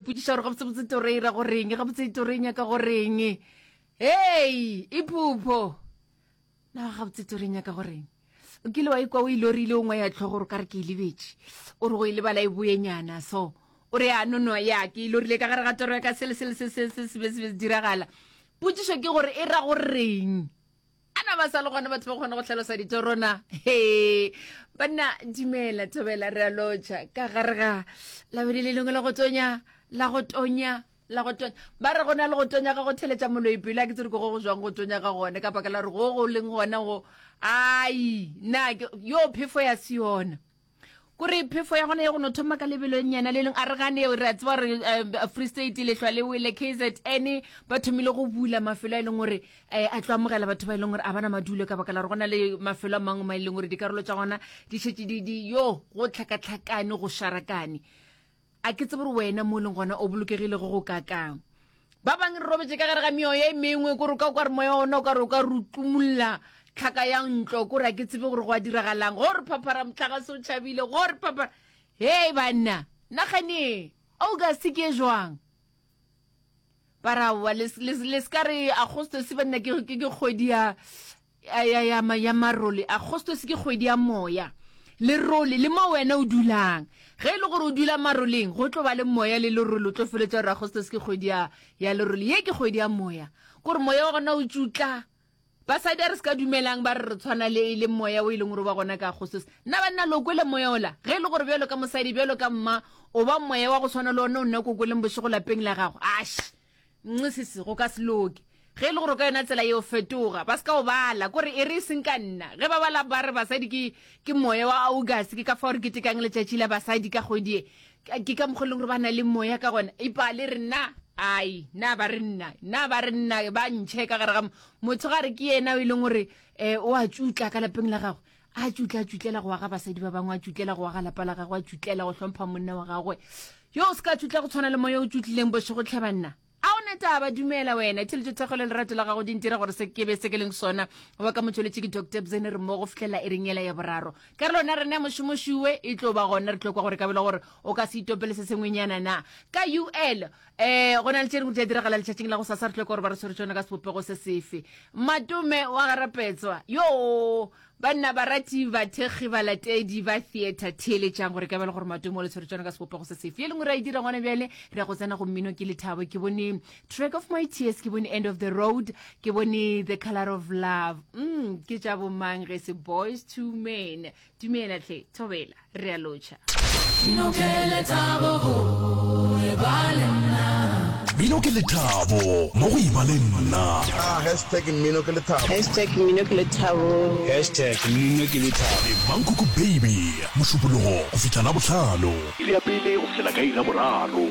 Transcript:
ipotšiša gore gabotsebotse toro e ra goreng, gabotse toro e nyaka goreng. Hei, iphupho. Na gabotse toro e nyaka goreng? O kile wa ikwa o e lorile o ngwaya tlhogo gore o ka re ke e lebetše. O re go e lebala e boenyana so. O re ya no no ya ke e lorile ka gare ga toro ya ka sele sele se se se se be se be se diragala. Potšišo ke gore e ra goreng? A na ba sa le gona batho ba kgona go hlalosa ditoro na? He banna dumela thobela re a lotšha ka gare ga labedi le lengwe la go tonya la go tonya la go tonya ba re go na le go tonya ga go theletša moloi pelo a ke tsere ko go go jwang go tonya ga gone ka baka la gore go go leng gona go ai na yo phefo ya se yona kore phefo ya gona ya go no thoma ka lebelonyana le leng a re gane re a tseba gore eh, free state lehlwa le wele kzn ba thomile go bula mafelo a e leng gore um a tlo amogela batho ba e leng gore a bana madulo ka baka la gore go na le mafelo a mangwe ma e leng gore dikarolo tša gona di šetše di yo go tlhakatlhakane go šarakane A ke tsebe gore wena mo o leng gona o bolokegile go go kakang. Ba bangwe re robetše ka gare ga meoya e mengwe, kore o ka kwa re moya ona o ka re o ka re o tumulla tlhaka ya ntlo, kore a ke tsebe gore go a diragalang. Go re phaphara mohlagase o tšhabile, go re phaphara. Hei banna, nagane August ke e jwang? Ba ra aowa, le, le, le se ka re Agostose banna ke, ke, ke kgwedi ya, ya, ya, ya, ya marole. Agostose ke kgwedi ya moya. Lerole, le mo wena o dulang. Ge e le gore o dula maroleng, go tlo ba le moya le lerole, o tlo feletša gore Agostose ke kgwedi ya, ya lerole. Ye ke kgwedi ya moya. Kore moya wa gona o tšutla. Basadi a re se ka dumelang ba re re tshwana le, le moya o e leng gore o ba gona ka Agostose. Nna banna lo kwele moya ola? Ge e le gore bjalo ka mosadi, bjalo ka mma, o ba moya wa go tshwana le ona o nna ko kweleng bošego lapeng la gago. Ash! Nxisisi, go ka se loke. Ge e le gore ka yona tsela yeo, fetoga. Ba se ka o bala. Kore e re e seng ka nna. Ge ba bala ba re basadi ke, ke moya wa August, ke ka fao re ketekang letšatši la basadi ka kgwedi ye. Ke ka mokgwa e leng gore ba na le moya ka gona. Ipale re nna, ai, na ba re nna, na ba re nna, ba ntšhe ka gare ga motho ga re ke yena o e leng gore um o a tšutla ka lapeng la gagwe. A tšutla, a tšutlela go aga basadi ba bangwe, a tšutlela go aga lapa la gagwe, a tšutlela go hlompha monna wa gagwe. Yo o se ka tšutla go tshwana le moya o tšutlileng bošego tlhe banna. A o na taba, dumela wena. Theletšo thekgo le lerato la gago di ntira gore se ke be se ke leng sona. Wa ka motšweletši ke Doctor Bzene re mmogo go fihlela iring yela ya boraro. Karolo yona rena ya mošomošuwe e tlo ba gona re tlo kwa gore ka bela gore o ka se itopele se sengwenyana na. Ka UL eh go na le tše dingwe di a diragala letšatšing la go sasa re tlo kwa gore ba re tshwere tšona ka sebopego se sefe. Matome wa garapetswa yo Banna, barati, bathekgi, balatedi ba theatre, theeletšang gore ka bjale gore Matome o le tshwere tšona ka sebopego se sefe. Ye lengwe re a e dira gona bjale, re ya go tsena go mmino ke lethabo. Ke bone Track of My Tears, ke bone End of the Road, ke bone The Color of Love. Mm, ke tša bomang ge se Boys to Men. Dumela hle, thobela, re a lotšha. Mmino ke lethabo go eba le nna. Mmino ke lethabo mo go eba le nna. Ah, hashtag mmino ke lethabo. Hashtag mmino ke lethabo. Hashtag mmino ke lethabo. Le Mankoko Baby, Mošupologo go fihla Labohlano. Iri ya pele go fihlela ka iri ya boraro.